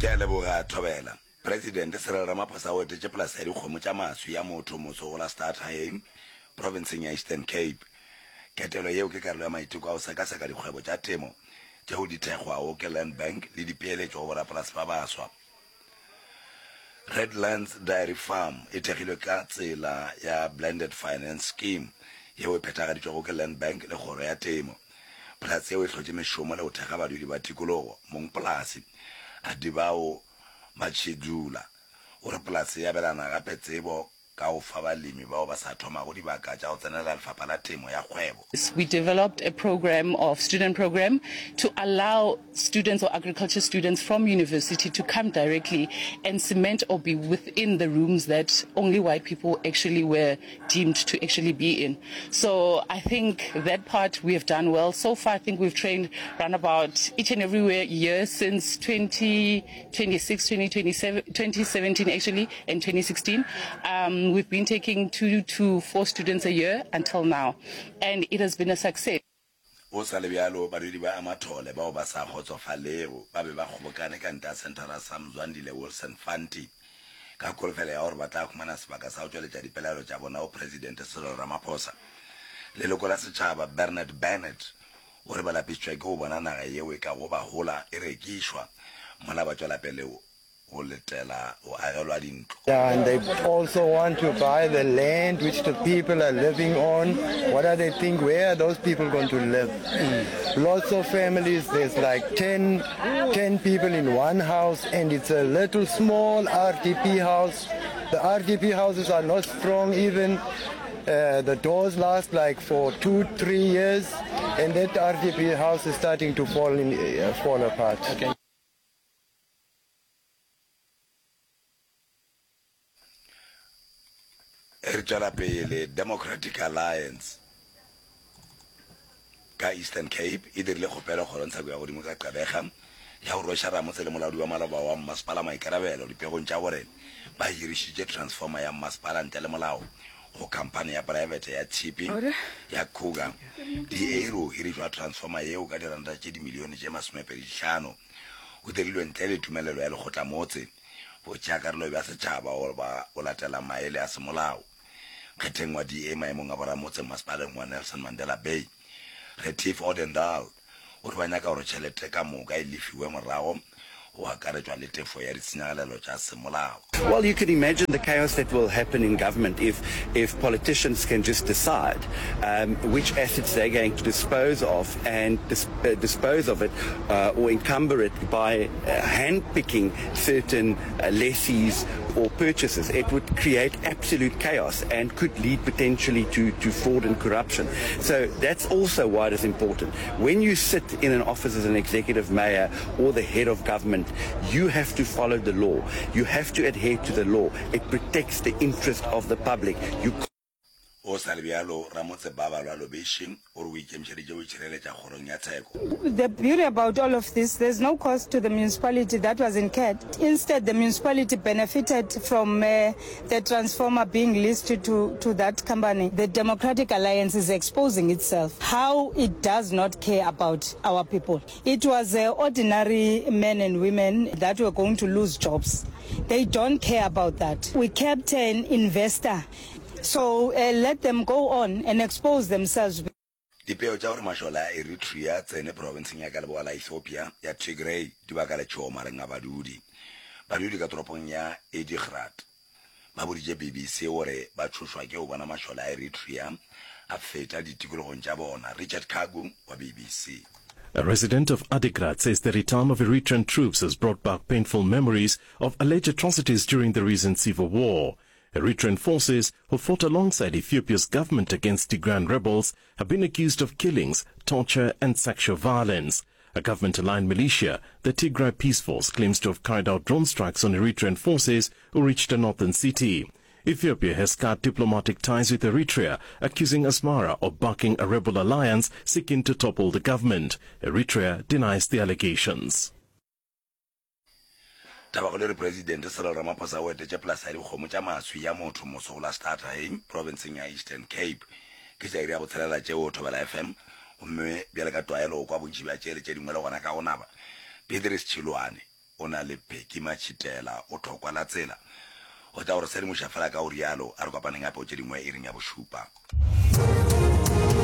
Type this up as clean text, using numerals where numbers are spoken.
Ke a leboga, Thobela. Presidente Cyril Ramaphosa o etetše polase ya dikgomo tša maswi ya motho moso go la Stadthagen, profenseng ya Eastern Cape. Ketelo yeo ke karolo ya maiteko a go sekaseka dikgwebo tša temo tšeo di thekgwago ke Land Bank le dipeeletšo go borapolase ba baswa. Redlands Dairy Farm e thekgilwe ka tsela ya Blended Finance Scheme yeo e phethagaditšwego ke Land Bank le Kgoro ya Temo. Polase yeo e hlotše mešomo le go thekga badudi ba tikologo. Mongpolase, Adibao Matshidula, o re polase e abelana gape tsebo ka go fa balemi bao ba sa thomago dibaka tša go tsenela lefapha la temo ya kgwebo. We developed a program of student program to allow students or agriculture students from university to come directly and cement or be within the rooms that only white people actually were deemed to actually be in. So I think that part we have done well. So far I think we've trained round about each and every year since 2026, 2027, 2017 actually and 2016. Um, we've been taking two to four students a year until now and it has been a success. Go sa le bjalo, badudi ba Amathole bao ba sa kgotsofalego ba be ba kgobokane ka ntle ga senthara sa Mzwandile Wilson Fanti ka kholofelo ya gore ba tla humana sebaka sa go tšweletša dipelaelo tša bona go Presidente Cyril Ramaphosa. Leloko la setšhaba Bernard Bennett o re ba lapišitšwe ke go bona naga yeo e kago ba hola e rekišwa mola ba tšwela pele go letela go agelwa dintlo. And they also want to buy the land which the people are living on. What are they think? Where are those people going to live? Lots of families, there's like 10, 10 people in one house and it's a little small RDP house. The RDP houses are not strong even. Uh, the doors last like for two, three years and that RDP house is starting to fall, in, uh, fall apart. Okay. Re tšwela pele, Democratic Alliance ka Eastern Cape e dirile kgopelo kgorongtsheko ya godimo ka Gqeberha ya go rweša ramotse le molaodi wa maloba wa mmasepala maikarabelo dipegong tša gore ba hirišitše transformer ya mmasepala ntle le molao go khamphani ya praebete ya tshipi ya Cougar. DA e re go hirišwa transformer yeo ka diranta tše dimilione tše masomepedihlano go dirilwe ntle le tumelelo ya lekgotlamotse, botšeakarolo bja setšhaba goba go latela maele a semolao. Nkgetheng wa DA maemong a boramotse mmasepaleng wa Nelson Mandela Bay, Retief Odendaal, o re ba nyaka gore tšhelete ka moka e lefiwe morago go akaretšwa le tefo ya ditshenyagalelo tša semolao. Well, you can imagine the chaos that will happen in government if, if politicians can just decide um, which assets they're going to dispose of and dis uh, dispose of it uh, or encumber it by uh, handpicking certain uh, lessees or purchases. It would create absolute chaos and could lead potentially to, to fraud and corruption. So that's also why it is important. When you sit in an office as an executive mayor or the head of government, you have to follow the law. You have to adhere to the law. It protects the interest of the public. You Go sa le bjalo, ramotse Babalwa Lobeshe o re o ikemišeditše go itšhireletša kgorong ya tsheko. The beauty about all of this, there's no cost to the municipality that was incurred. Instead, the municipality benefited from uh, the transformer being leased to, to that company. The Democratic Alliance is exposing itself, how it does not care about our people. It was uh, ordinary men and women that were going to lose jobs. They don't care about that. We kept an investor. So uh, let them go on and expose themselves. Dipeo tša gore mašole a Eritrea a tsene profenseng ya ka leboa la Ethiopia ya Tigray di baka letšhogo magareng a badudi. Badudi ka toropong ya Adigrat ba boditše BBC gore ba tšhošwa ke go bona mašole a Eritrea a feta ditikologong tša bona. Richard Kagu wa BBC. A resident of Adigrat says the return of Eritrean troops has brought back painful memories of alleged atrocities during the recent civil war. Eritrean forces, who fought alongside Ethiopia's government against Tigrayan rebels, have been accused of killings, torture and sexual violence. A government-aligned militia, the Tigray Peace Force, claims to have carried out drone strikes on Eritrean forces who reached a northern city. Ethiopia has cut diplomatic ties with Eritrea, accusing Asmara of backing a rebel alliance seeking to topple the government. Eritrea denies the allegations. Tabakgolo e re Presidente Cyril Ramaphosa o etetše polasa ya dikgomo tša maswi ya motho moso go la Stadthain, profenseng ya Eastern Cape. Ke tša iri ya botshelela tšeo Thobela FM, gomme bjale ka tlwaelo o kwa bontši bja tše le tše dingwe le gona ka go naba. Beatrice Chiloane. o na le Pheki Matšhitela o thokwa la tsela. O tla go re sedimoša fela ka go rialo. A re kopaneng gape go tše dingwe iring ya bošupa.